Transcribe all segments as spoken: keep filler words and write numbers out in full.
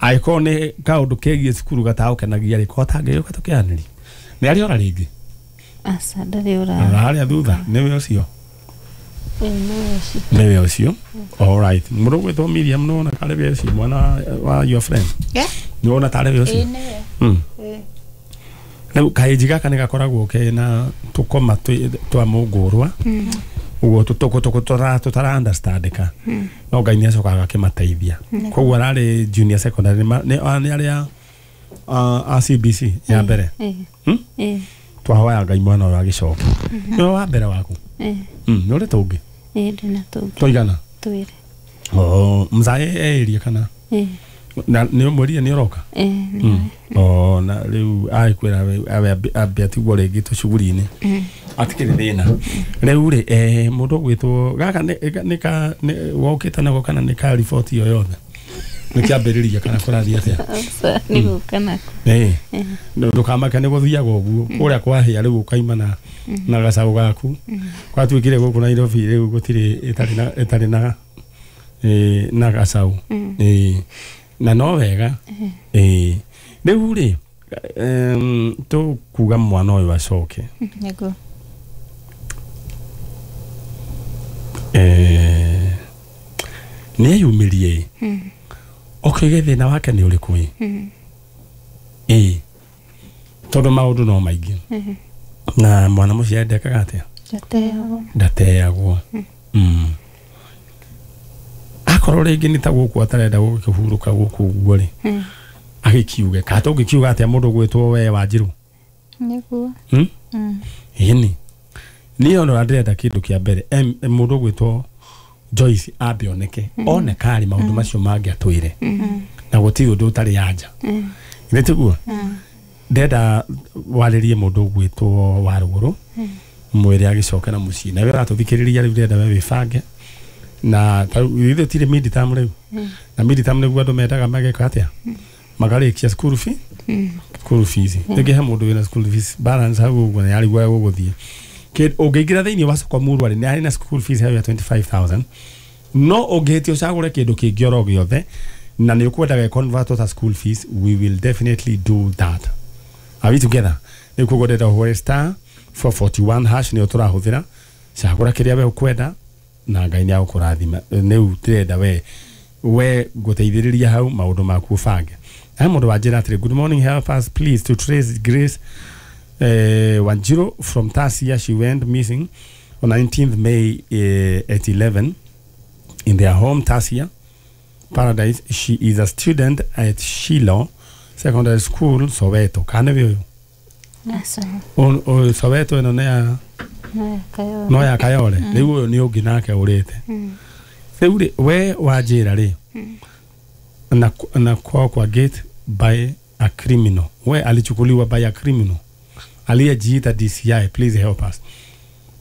Angĩkorwo nĩ kaũndũ kegiĩ cukuru gatagũkenagia rĩ, ko atangĩgĩũka tũkĩaranĩrie. Nĩ arĩ ora rĩngĩ? Aca, ndarĩ ora. Ora harĩa thutha, nĩwe ũcio? Ĩĩ, nĩwe ũcio. Nĩwe ũcio. All right. Mũndũ ũgwĩtwo Miriam nĩwona tarĩ we ũcio mwana wa your friend? Yeah. Nĩwona tarĩ we ũcio? Ĩĩ, nĩwe. Mm. Ĩĩ. Rĩu kaĩnji gaka nĩ gakoragwo kena tũkoma twĩ- twa mũngũrwa ũguo tũtũkũ tũtara understandĩka, no Ngai nĩ acokaga akĩmateithia. Koguo ararĩ junior secondary, nĩ ma- nĩ nĩ arĩa a a C B C ya mbere. Ĩĩ. Hmm? Ĩĩ. Twahoya Ngai mwana ũyũ agĩcoke. Nĩwe wa mbere waku? Ĩĩ. Mm, nĩ ũrĩ tũngĩ? Ĩĩ, ndĩna tũngĩ. Tũigana? Twĩrĩ. Oh, mzae eirie kana? Ĩĩ. Na nĩ ũmwĩrire nĩ ũroka? Ĩĩ, nĩ. Mm. Oh, na rĩu agĩkwĩra abe ambe atigwo rĩngĩ tũcuguri-inĩ. Atikĩrĩ thĩna. Rĩu rĩ, eh, mũndũ ũgwĩtwo gaka nĩ nĩ ka nĩ- wokĩte nako kana nĩ ka riboti o yothe? Nĩ kĩambĩrĩria kana kũrathiĩ atĩa? Aca, nĩ gũka nako. Ĩĩ. Ndũkamake nĩ gũthiaga ũguo. Kũrĩa kwahĩa rĩu ũkaima na na gacaũ gaku. Gwatuĩkire gũkũ Nairobi rĩu gũtirĩ ĩtarĩ na ĩtarĩ na eh, na gacaũ. Ĩĩ. Na no wega. Ĩĩ. Rĩu rĩ, em, tũkuga mwana ũyũ acoke. Nĩguo. Eh, nĩ eyumĩrie ĩ. Okĩge thĩna wake nĩ ũrĩkũ ĩ? Ĩĩ. Tondũ maũndũ no maingĩ. Na mwana mũciare ndekaga atĩa? Ndateagwo. Ndateagwo. Mm. Akorwo rĩngĩ nĩ ta gũkũ atarenda gũkĩhurũka gũkũ ũguo rĩ, agĩkiuge. Kana tũngĩkiuga atĩa mũndũ ũgwĩtwo we Wanjirũ? Nĩguo. Hmm? Mm. Ĩni. Niĩ ona ndĩrenda kĩndũ kĩa mbere, em, mũndũ ũgwĩtwo Joyce ambe oneke. Oneka rĩ, maũndũ macio mangĩ atwĩre. Na gũtirĩ ũndũ ũtarĩ anja. Nĩ tiguo? Ndĩrenda warĩrie mũndũ ũgwĩtwo Warũgũrũ, mwĩre agĩcoke na mũciĩ. Na we ũratũthikĩrĩria rĩu ndĩrenda we wĩbange. Na ta rĩu ithuĩ tirĩ mid-term rĩu. Na mid-term nĩguo andũ mendaga mageka atĩa? Makarĩkia school fee. School fees. Rĩngĩ he mũndũ wĩna school fees balance hau ũguo na yarigwo gũgũthiĩ. Ũngĩingĩra thĩinĩ wa soko Murwa rĩ, nĩ harĩ na school fees hau ya twenty-five thousand. No ũngĩhĩtia ũcagũre kĩndũ kĩngĩ oro gĩothe na nĩ ũkwenda gĩ-convert ta school fees, we will definitely do that. Are we together? Rĩu koguo ndĩrenda ũhũre star four forty-one hash nĩyo tũrahũthĩra. Cagũra kĩrĩa we ũkwenda na Ngai nĩ agũkũrathima. Rĩu ndĩrenda we we ngũteithĩrĩria hau maũndũ maku ũbange. He mũndũ wanjĩra atĩrĩ, good morning, help us please to trace Grace eh, Wanjiru from Tasia. She went missing on nineteenth May eh, at eleven in their home Tasia Paradise. She is a student at Shiloh Secondary School, Soweto. Kana nĩwe ũyũ? Aca. O- o- Soweto ĩno nĩ ya No ya Kayole. no ya Kayole. Rĩu ũyũ nĩ ũngĩ nake ũrĩte. Rĩu rĩ, we wanjĩra rĩ, na, na kwao kwa gate by a criminal. We alichukuliwa by a criminal aliyejiita D C I. Please help us.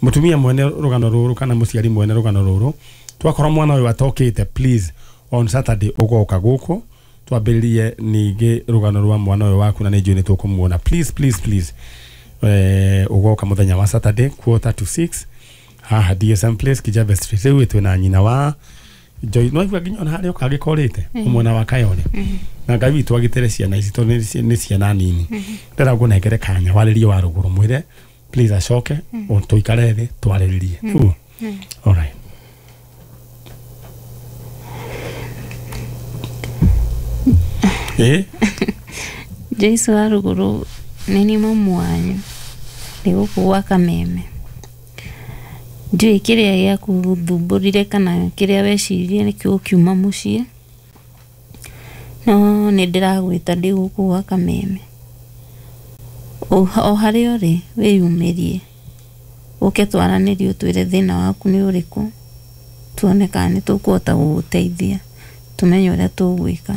Mutumia mwene rũgano rũrũ kana mũciari mwene rũgano rũrũ, twakorwo mwana ũyũ atokĩte, please on Saturday ũgoka gũkũ twambĩrĩrie ningĩ rũgano rwa mwana ũyũ waku na nĩ njũĩ nĩ tũkũmuona. Please, please, please. Eh, ũgoka mũthenya wa Saturday quarter to six haha D S M Place, Kijabe Street. Rĩu twĩ na nyina wa Joy, no igua nginya ona harĩa ũka agĩkorĩte mwena wa Kayole. Na Ngai witũ agitĩre ciana ici tondũ nĩ nĩ ciana nini. Ndĩrenda ngũnengere kanya warĩrie Warũgũrũ, mwĩre please acoke tũikare thĩ twarĩrĩrie. Nĩguo? All right. Eh? Joyce Warũgũrũ nĩ niĩ mamu wanyu, ndĩ gũkũ gwa Kameme. Ndiũĩ kĩrĩa gĩakũthumbũrire kana kĩrĩa weciririe nĩkĩo ũkiuma mũciĩ, no nĩ ndĩragwĩta ndĩ gũkũ gwa Kameme. O harĩa ũrĩ wĩyumĩrie, ũke twaranĩrie ũtwĩre thĩna waku nĩ ũrĩkũ, tuone kana nĩ tũkũhota gũgũteithia, tũmenye ũrĩa tũgwĩka.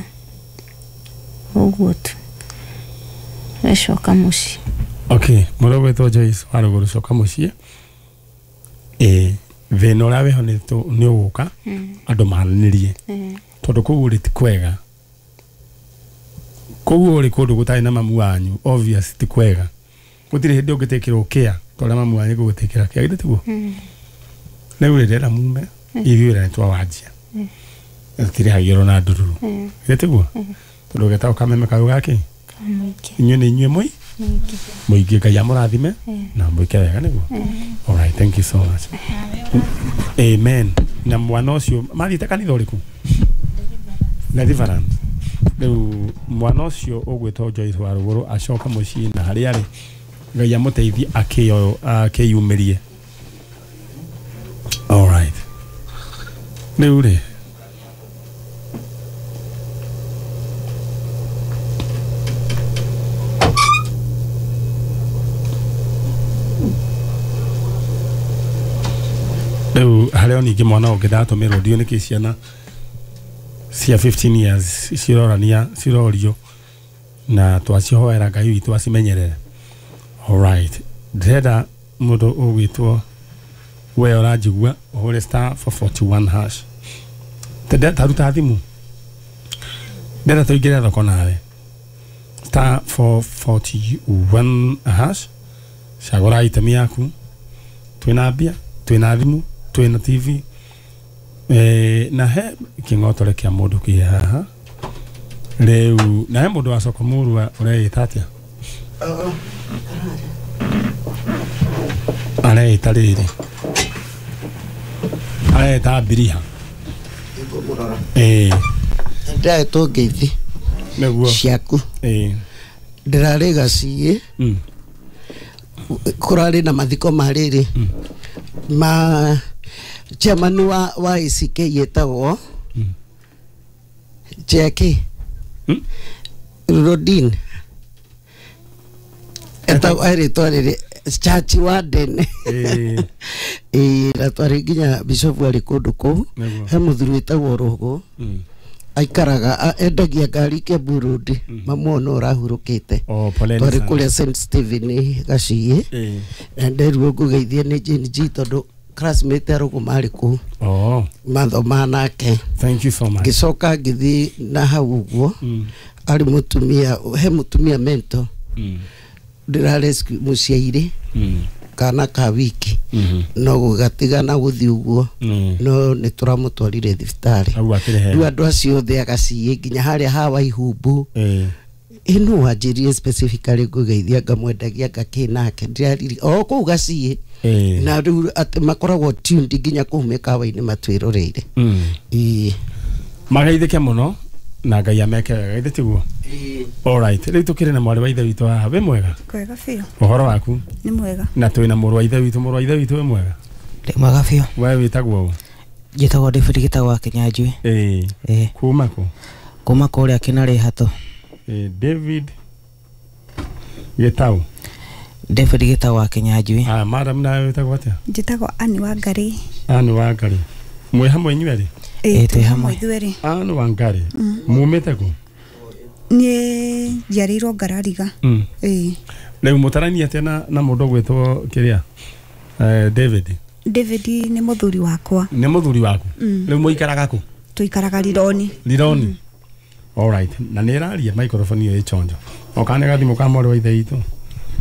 Ũguo tu. Wecoka mũciĩ. Okay, mũndũ ũgwĩtwo Joyce Warũgũrũ, coka mũciĩ. Ĩĩ, thĩna ũrĩa wĩho nĩ ũgũka andũ maranĩrie, tondũ kũu ũrĩ ti kwega. Kũu ũrĩ kũndũ gũtarĩ na mamu wanyu, obvious ti kwega. Gũtirĩ hĩndĩ ũngĩtĩkĩrwo kĩa ta ũrĩa mamu wanyu egũgũtĩkĩra kĩa, githĩ tiguo? Rĩu rĩ, ndĩrenda mume ithuĩ wĩra nĩ twawanjia, tũtirĩhagĩrwo na ndururu, githĩ tiguo? Tondu getagwo Kameme kau gaki Mũingĩ. Inyuĩ nĩ inyuĩ mũi Mũingĩ. Mũingĩ. Ngai amũrathime na mwĩke wega nĩguo. All right, thank you so much. Amen. Na mwana ũcio mathiĩte kanitha ũrĩkũ? Deliverance. Rĩu mwana ũcio ũgwĩtwo Joyce wa Rũgũrũ acoka mũciĩ na harĩa arĩ Ngai amũteithie akĩyo akĩyumĩrie. All right. Rĩu rĩ rĩu harĩ o ningĩ mwana ũngĩ ndatũmĩrwo ndiũ nĩkĩ ciana cia fifteen years cirorania cirorio na twacihoera Ngai witũ acimenyerere. All right. Ndĩrenda mũndũ ũgwĩtwo we ũranjigua ũhũre star four forty-one hash. Tende taruta thimũ. Ndĩrenda tũingĩre thoko nawe. Star four forty-one hash. Cagũra item yaku. Twĩna mbia, twĩna thimũ, twĩna T V. Eh, na he kĩng'otore kĩa mũndũ kĩ haha. Rĩu na he mũndũ wa soko mũrua ũreĩta atĩa? Areĩta rĩrĩ. Areĩta Biriha. Eh. Ndĩrahetwo ngeithi Nĩguo. ciaku. Eh. Ndĩrarĩ Gaciĩ. Mm. Kũrarĩ na mathiko ma rĩrĩ. Ma chairman wa wa A C K yetagwo Mm. Jackie. Mm. Rodin. Etagwo erĩtwa rĩrĩ Church Warden. Eh. Eh, na twarĩ nginya bishop arĩ kũndũ kũu. Nĩguo. He mũthuri wĩtagwo Rũgũ. Mm. Aikaraga endagia ngari Kiambu Road. Mamuona ũrahurũkĩte. Oh, poleni Twarĩ sana. kũrĩa Saint Stephen Gaciĩ. Eh. Na nderirwo ngũgeithie nĩ Jane G tondũ classmate a Rũgũ marĩ kũu. Oh, Mathoma nake. thank you so much. Ngĩcoka ngĩthiĩ na hau ũguo. Mm. Arĩ mũtumia, he mũtumia mento. Mm. Ndĩra rescue mũciairĩ. Mm. Kana ka wiki. Mhm. No gũgatigana gũthiĩ ũguo. Mm. No nĩ tũramũtwarire thibitarĩ. Hau akĩrĩ Rĩu hega. andũ acio othe a Gaciĩ nginya harĩa ha Waihumbu. Eh. Ĩno wanjĩrire specifically ngũgeithia ngamwendagia ngakĩ nake ndĩrariri o kũu Gaciĩ. Eh. Na rĩu atĩ makoragwo tuned nginya kũu mĩkawa-inĩ matwĩroreire. Mm. Ĩĩ. Magaithĩke mũno na Ngai ameke wega githĩ tiguo? All right. Rĩu tũkĩrĩ na mwarĩ wa ithe witũ haha. Wĩ mwega? Kwega biũ. Ũhoro waku? Nĩ mwega. Na twĩna mũrũ wa ithe witũ. Mũrũ wa ithe witũ wĩ mwega? Ndĩ mwega biũ. We wĩtagwo ũ? Njĩtagwo David Gĩtagwo wa Kĩnyanjui. Ĩĩ. Ĩĩ. Kuma kũ? Kuma kũrĩa Kĩnarĩ Hatũ. Ĩĩ, David Gĩtau. David Gĩtau wa Kĩnyanjui. Ah, madam nawe wĩtagwo atĩa? Njĩtagwo Anne Wangari. Anne Wangari. Mwĩ hamwe inyuerĩ? Ĩĩ, twĩ hamwe. Ithuerĩ. Anne Wangari. Mumĩte kũ? Niĩ njiarĩirwo Ngarariga. Mm. Ĩĩ. Rĩu mũtarainie atĩa na na mũndũ ũgwĩtwo kĩrĩa? Eh, David. David nĩ mũthuri wakwa. Nĩ mũthuri waku? Mm. Rĩu mũikaraga kũ? Tũikaraga Rironi. Rironi. All right. Na nĩ ĩraria microphone ĩyo ĩchonjo. O kana gathimũ ka mwarĩ wa ithe witũ.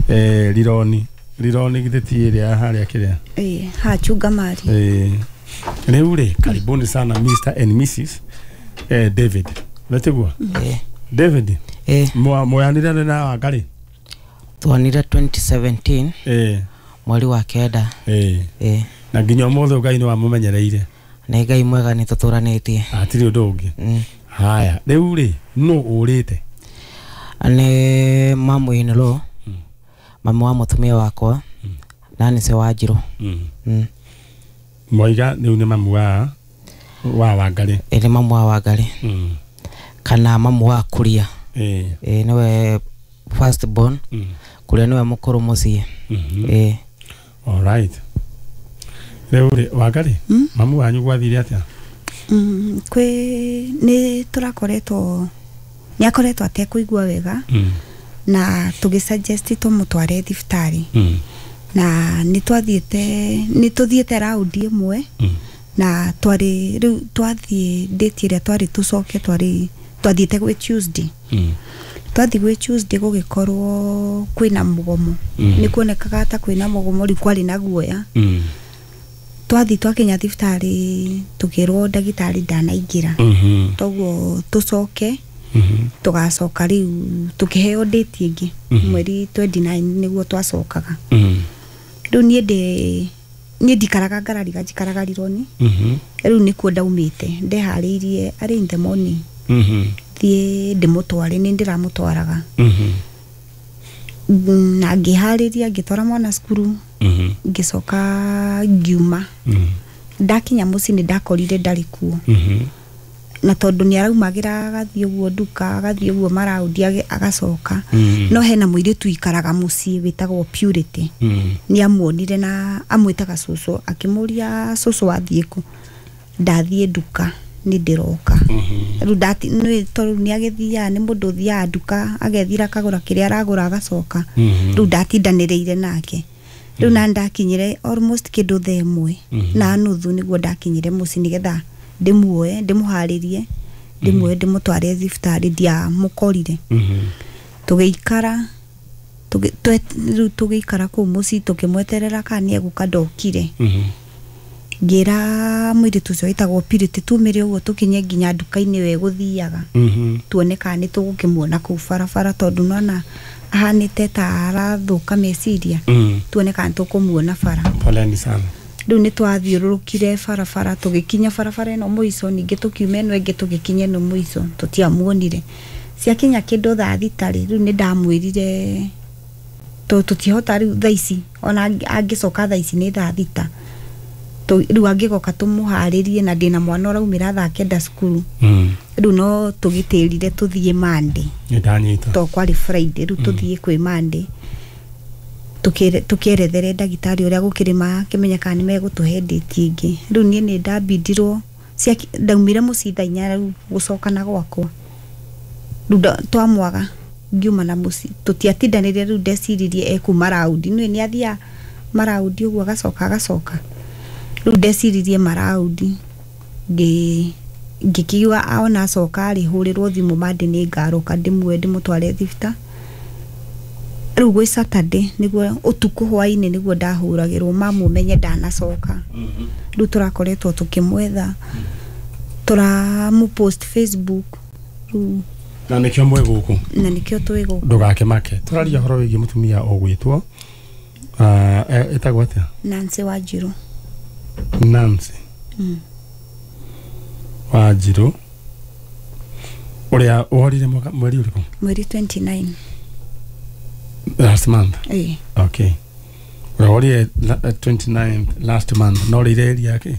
Eh, Rironi. Rironi githĩ ti ĩrĩa harĩa kĩrĩa? Ĩĩ, haha Chungamari. Eh, rĩu rĩ, karibuni sana Mister and Missus eh, David. Wetiguo? Ĩĩ. David. Ĩĩ. Mwoyanire na Wangari? Twanire twenty seventeen. Ĩĩ. Mweri wa kenda. Ĩĩ. Ĩĩ. Na nginya ũmũthĩ Ngai nĩ wamũmenyereire. Nĩ Ngai mwega nĩ tũtũranĩtie. Hatirĩ ũndũ ũngĩ. Mm. Haya, rĩu rĩ, nũ ũrĩte? Nĩ mamu in law. Mm. Mamu wa mũtumia wakwa. Mm. Na nĩ ce Wanjirũ. Mm. Mm. Mwaiga rĩu nĩ mamu wa wa Wangari. Ĩĩ, nĩ mamu wa Wangari. Mm. Kana mamu wa Kuria. Ĩĩ. Ĩĩ, nĩwe first born. Mm. Kuria nĩwe mũkũrũ mũciĩ. Mhm. Ĩĩ. All right. Rĩu rĩ, Wangari, Mm? mamu wanyu gwathire atĩa? Mm, kwĩ nĩ tũrakoretwo nĩ akoretwo atekũigua wega. Mm. Na tũgĩ suggest tũmũtware thibitarĩ. Mm. Na nĩ twathiĩte nĩ tũthiĩte raundi ĩmwe. Mm. Na twarĩ rĩu twathiĩ date ĩrĩa twarĩ tũcoke twarĩ twathiĩte gwĩ Tuesday. Mm. Twathiĩ gwĩ Tuesday gũgĩkorwo kwĩna mũgomo. Mm. Nĩ kuonekaga ta kwĩna mũgomo rĩu kwarĩ na guoya. Mm. Twathiĩ twakinya thibitarĩ tũkĩrwo ndagĩtarĩ ndanaingĩra. Mhm. Toguo tũcoke Tugacoka rĩu tukĩheo date ĩngĩ mweri twenty-nine nĩguo twacokaga. Rĩu niĩ ndĩ niĩ ndikaraga Ngarariga, njikaraga Rironi. Rĩu nĩkuo ndaumĩte ndeharĩirie arĩ in the morning thiĩ ndĩmũtware, nĩ ndĩramũtwaraga na ngĩharĩria ngĩtwara mwana cukuru ngĩcoka ngiuma. Ndakinya mũciĩ nĩ ndakorire ndarĩ kuo, na tondũ nĩ araumagĩra agathiĩ ũguo nduka agathiĩ ũguo maraũndi agacoka. No hena mũirĩtu ikaraga mũciĩ wĩtagwo Purity, nĩ amuonire na amwĩtaga cũcũ, akĩmũria cũcũ wathiĩ kũ? Ndathiĩ nduka nĩ ndĩroka. Rĩu ndati nĩ tondũ nĩ agĩthiaga, nĩ mũndũ ũthiaga nduka agethira akagũra kĩrĩa aragũra agacoka. Rĩu ndatindanĩrĩire nake. Rĩu na ndakinyire almost kĩndũ thaa ĩmwe na nuthu nĩguo ndakinyire mũciĩ nĩgetha ndĩmuoe ndĩmũharĩrie ndĩmuoe ndĩmũtware thibitarĩ, ndiamũkorire. Tũgĩikara rĩu tũgĩikara kũu mũciĩ tũkĩmweterera kana nĩ egũka, ndokire. Ngĩra mũirĩtu ũcio wĩtagwo Purity tumĩre ũguo tũkinye nginya nduka-inĩ we gũthiaga tuone kana nĩ tũgũkĩmuona kũu barabara, tondũ nona ahanĩte ta arathũka meciria, tuone kana tũkũmuona bara. Poleni sana. Rĩu nĩ twathiũrũrũkire barabara tũgĩkinya barabara ĩno mũico, ningĩ tũkiuma ĩno ĩngĩ tũgĩkinya ĩno mũico, tũtiamuonire. Ciakinya kĩndũ thaa thita rĩ, rĩu nĩ ndamwĩrire tũtihota rĩu thaa ici, ona angĩcoka thaa ici nĩ thaa thita, rĩu angĩgoka tũmũharĩrie na ndĩna mwana ũraumĩra thaa kenda cukuru. Rĩu no tũgĩtĩrire tũthiĩ Monday, to kwarĩ Friday, rĩu tũthiĩ kwĩ Monday tũkĩerethere ndagĩtarĩ ũrĩa gũkĩrĩ makĩmenya kana nĩ megũtũhe date ĩngĩ. Rĩu niĩ nĩ ndambindirwo, ndaumire mũciĩ thaa inya rĩu gũcoka na gwakwa. Rĩu twamwaga ngiuma na mũciĩ, tũtiatindanĩire, rĩu ndeciririe ekuma raundi, nĩ nĩ athiaga maraundi ũguo agacoka agacoka. Rĩu ndeciririe maraundi ngĩ ngĩkiuga ona acoka rĩ hũrĩrwo thimũ Monday nĩ ngaroka ndĩmuoe ndĩmũtware thibitarĩ. Rĩu gwĩ Saturday nĩguo ũtukũ hwainĩ nĩguo ndahũragĩrwo mamu menye ndanacoka. Rĩu tũrakoretwo tũkĩmwetha, tũramũ post Facebook rĩu na nĩkĩo mwĩ gũkũ, na nĩkĩo twĩ gũkũ. Ndũgakĩmake, tũraria ũhoro wĩgiĩ mũtumia ũgwĩtwo ĩtagwo atĩa? Nancy Wanjirũ. Nancy Wanjirũ ũrĩa ũhorire mweri ũrĩkũ? Mweri twenty-nine. Last month. Eh. Okay. Ũrĩa ũhorire twenty-ninth last month, no rĩire area yake?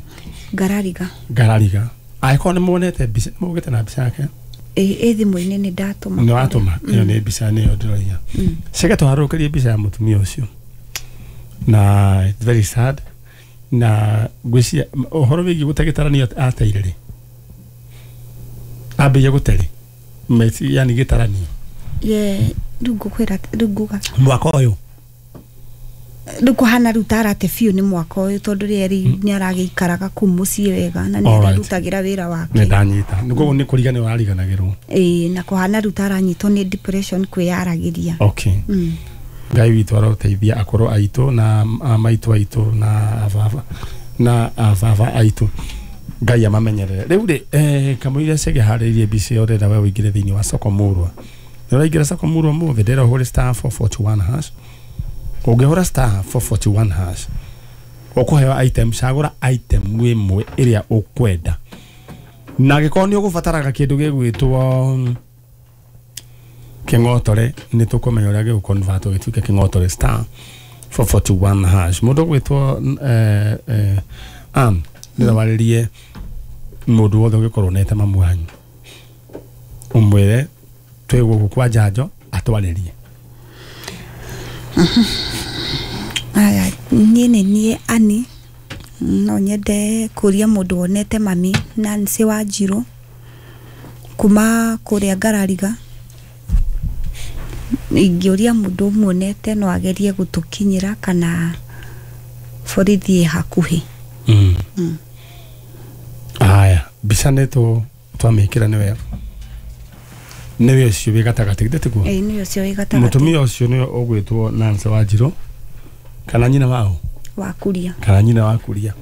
Ngarariga. Ngarariga. Angĩkorwo nĩ muonete mbica, mũgĩte na mbica yake? Ĩ thimũ-inĩ nĩ ndatũma. Nĩ watũma? Ĩyo nĩ mbica nĩyo ndĩroiga. Ceke tũharũrũkĩrie mbica ya mũtumia ũcio. Na it's very sad. Na ngwĩciria ũhoro wĩgiĩ gũte gĩtaranio ateire rĩ? Ambĩrĩria gũte rĩ? Yani gĩtaranio. Ye rĩu ngũkwĩra rĩu nguga mwaka ũyũ rĩu kũhana rĩu tarate biũ nĩ mwaka ũyũ, tondũ rĩrĩ nĩ aragĩikaraga kũu mũciĩ wega na nĩ ararutagĩra wĩra wake. Nĩ ndanyita. Nĩ koguo nĩ kũriganĩrwo arariganagĩrwo. Ĩĩ, na kũhana rĩu taranyitwo nĩ depression kwĩyaragĩria. Okay. Ngai witũ aroteithia akũrũ aitũ na maitũ aitũ na ababa na ababa aitũ, Ngai amamenyerere. Rĩu rĩ eh kamũira cege harĩirie mbica ĩyo ũrenda we ũingĩre thĩinĩ wa soko mũrwa. Nĩ ũraingĩra soko mũrwa mũthĩ, ndĩrenda ũhũre star four forty-one hash. Ũngĩhũra star four forty-one hash ũkũheo item, cagũra item ĩmwe ĩrĩa ũkwenda, na angĩkorwo nĩ ũgũbataraga kĩndũ gĩgwĩtwo kĩng'otore nĩ tũkũmenya ũrĩa gĩgũconvert gĩtuĩke kĩng'otore star four forty-one hash. Mũndũ ũgwĩtwo eh, eh, Ann nĩ warĩrie mũndũ wothe ũngĩkorwo nete mamu wanyu ũmwĩre twĩ gũkũ kwa njanjo atwarĩrie. Aya, niĩ nĩ niĩ Annie, no nyende kũria mũndũ wonete mami Nancy Wanjirũ kuma kũrĩa Ngarariga. Ingĩũria mũndũ ũmuonete no agerie gũtũkinyĩra kana borithi ĩ hakuhĩ. Mm. Aya, mbica nĩ twamĩkĩra nĩ wega. Nĩwe ũcio wĩ gatagatĩ, githĩ tiguo? Ĩĩ, nĩwe ũcio wĩ gatagatĩ. Mũtumia ũcio nĩwe ũgwĩtwo Nancy Wanjirũ kana nyina wao? Wa Kuria. Kana nyina wa Kuria.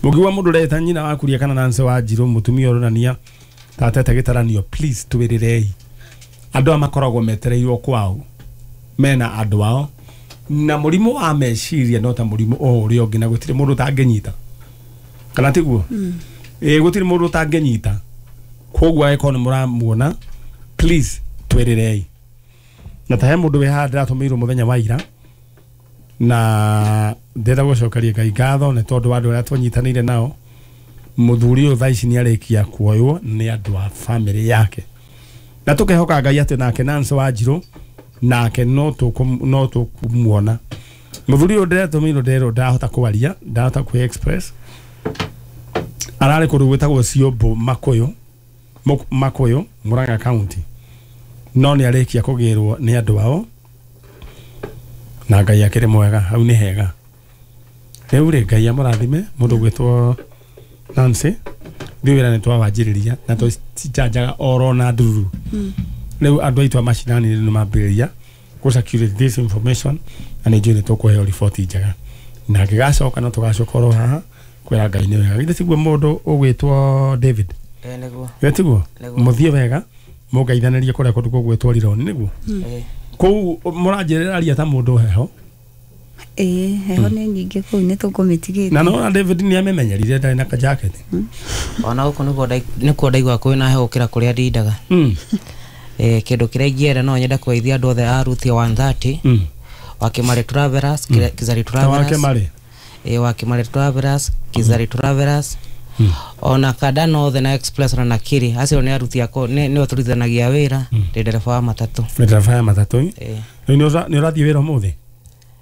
Mũngiuga mũndũ ũreta nyina wa Kuria kana Nancy Wanjirũ, mũtumia ũronania tatete gĩtaranio, please twĩrĩrei. Andũ aya makoragwo metereirwo kwao mena andũ ao na mũrimũ wa meciria no ta mũrimũ o ũrĩa ũngĩ na gũtirĩ mũndũ ũtangĩnyita kana tiguo? Ĩĩ gũtirĩ mũndũ ũtangĩnyita koguo angĩkorwo nĩ mũramuona please twĩrĩrei na ta he mũndũ wĩ haha ndĩratũmĩirwo mũthenya wa ira na ndĩrenda gũcokeria Ngai ngatho nĩ tondũ wa andũ arĩa twanyitanĩire nao mũthuri ũyũ thaa ici nĩ arĩkia kuoywo nĩ andũ a bamĩrĩ yake na tũkehoka Ngai atĩ nake Nancy Wanjirũ nake no tũkũ no tũkũmuona mũthuri ũyũ ndĩratũmĩirwo nderwo ndahota kwaria ndahota kwĩ express ararĩ kũndũ gwĩtagwo Ciũmbũ Makũyũ Makũyũ Murang'a County no nĩ arĩkia kũgĩrwo nĩ andũ ao na Ngai akĩrĩ mwega hau nĩ hega rĩu rĩ Ngai amũrathime mũndũ gwĩtwo Nancy ithuĩ wĩra nĩ twawanjĩrĩria na tũcinjanjaga oro na ndururu rĩu andũ aitũ a macinani nĩ mambĩrĩria gũ circulate this information na nĩ njũĩ nĩ tũkũheo riboti njega na ngĩgacoka no tũgacoka oro haha kwĩra Ngai nĩ wega githĩ tiguo mũndũ ũgwĩtwo David Eh nĩguo githĩ tiguo Nĩguo. mũthiĩ wega mũngeithanĩrie kũrĩa kũndũ gũgwĩtwo Rironi nĩguo Eh kũu mũranjĩrĩra ta mũndũ heho Ĩĩ heho nĩ nyingĩ kũu nĩ tũkũmĩtigĩte na no David nĩ amemenyerire ndarĩ na kajaketi ona gũkũ nĩguo ndai- nĩkuo ndaigua kwĩna heho gũkĩra kũrĩa ndindaga mm. eh kĩndũ kĩrĩa ingĩenda no nyende kũgeithia andũ othe a Ruthia one thirty mm. wa Kĩmarĩ Travelers mm. Kizari ta wake Travelers marĩ eh wa Kĩmarĩ Travelers Kizari Travelers Mm. ona Kanda North na Express na Nakiri acio nĩ aruti akwa nĩ nĩo tũrutithanagia wĩra ndĩ ndereba wa matatũ nĩ ndereba ya matatũ eh rĩu nĩ ũra- nĩ ũrathiĩ wĩra ũmũthĩ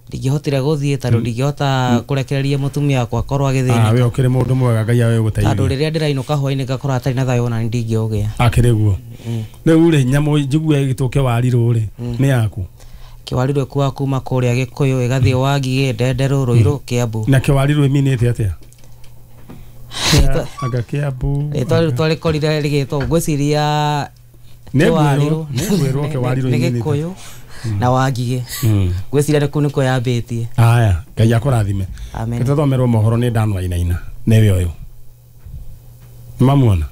ndingĩhotire gũthiĩ tondũ ndingĩhota kũrekereria mũtumia wakwa akorwo Ah, agĩthĩnĩka we ũkĩrĩ mũndũ mwega Ngai awe tondũ gũteithia rĩrĩa ndĩrainũka hwainĩ ngakorwo atarĩ na thayũ ona nĩ ndingĩũgĩa akĩrĩ guo Mm. rĩu rĩ nyamũ njigue ĩgĩtwo kĩwarirũ rĩ nĩ yaku kĩwarirũ ĩkuaga kuma kũrĩa Gĩkũyũ ĩgathiĩ Wangigĩ Ndenderũ Rũirũ Kĩambu na kĩwarirũ ĩminĩte atĩa Rĩtwa- anga Kĩambu rĩtwa rĩu twarĩkorire rĩgĩtwo ngwĩciria nĩ kĩwarirũ ngwĩrwo nĩ ngwĩrwo kĩwarirũ nĩ ĩminĩte Gĩkũyũ na Wangigĩ Mm. ngwĩciria nĩ kũu nĩkuo yambĩtie aya Ngai akũrathime amen tũthomerwo mohoro nĩ Dan Wainaina nĩwe ũyũ mamuona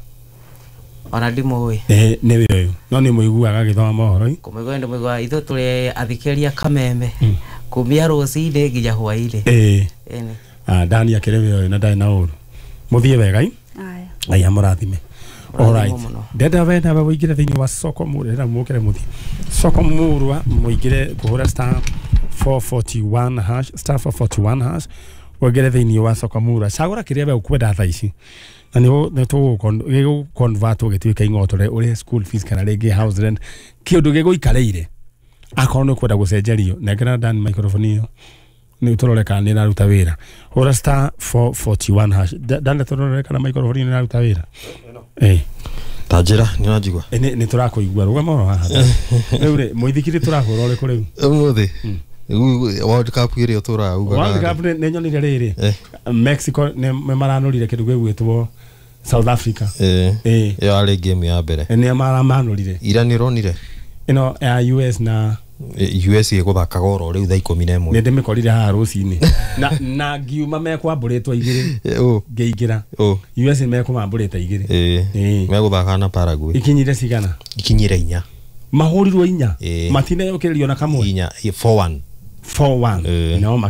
ona ndimũĩ ĩĩ nĩwe ũyũ no nĩ mũiguaga agĩthoma mohoro kũmũigua ndĩmũigua ithuĩ tũrĩ athikĩrĩria kameme kumia rũcinĩ nginya hwainĩ ĩĩ Ĩni. Ah, Dani akĩrĩ we ũyũ na ndarĩ na ũru mũthiĩ wega i Aya. Ngai amũrathime Mũrathimwo Alright. mũno. Ndenda we nawe ũingĩre thĩinĩ wa soko murwa mũkĩre mũthiĩ soko murwa mũingĩre kũhũra star four forty-one hash star four forty-one hash ũingĩre thĩinĩ wa soko murwa cagũra kĩrĩa we ũkwenda thaa ici na nĩ tũgũ convert gĩtuĩke ing'otore ũrĩhe school fees kana rĩngĩ house rent kĩũndũ gĩgũikarĩire akorwo nĩ ũkwenda gũcenjerio nengera Dan microphone ĩyo nĩ tũrore kana nĩ ĩraruta wĩra hũra star four forty-one hash Da- Dan tũrore kana microphone ĩyo nĩ ĩraruta wĩra ĩĩ ta njĩra nĩ ũranjigua Ĩ, nĩ nĩ tũrakũigua rũgama oro haha rĩu rĩ mũithikiri tũrahũra ũrĩkũ rĩu ũmũthĩ World Cup ĩrĩa ũtũraga ugaga World Cup nĩ nĩ nyonire rĩrĩ Eh. Mexico nĩ nĩ maranũrire kĩndũ gĩgwĩtwo South Africa ĩĩ ĩĩ ĩyo yarĩ game ya mbere nĩ maramanũrire ira nĩ ũronire ĩno ya U S na Eh, U S ĩgũthakaga oro rĩu thaa ikũmi na nĩ ĩmwe ndĩmĩkorire haha rũcinĩ na na ngiuma mekwambũrĩtwo igĩrĩ Eh, ũ ngĩingĩra ũ U S mekũmambũrĩte igĩrĩ ĩĩ Ĩĩ. megũthaka na Paraguay ikinyire cigana ikinyire inya mahũrirwo inya Ĩĩ. matineyũkĩrĩrio na kamwe inya four one four one Ĩĩ. no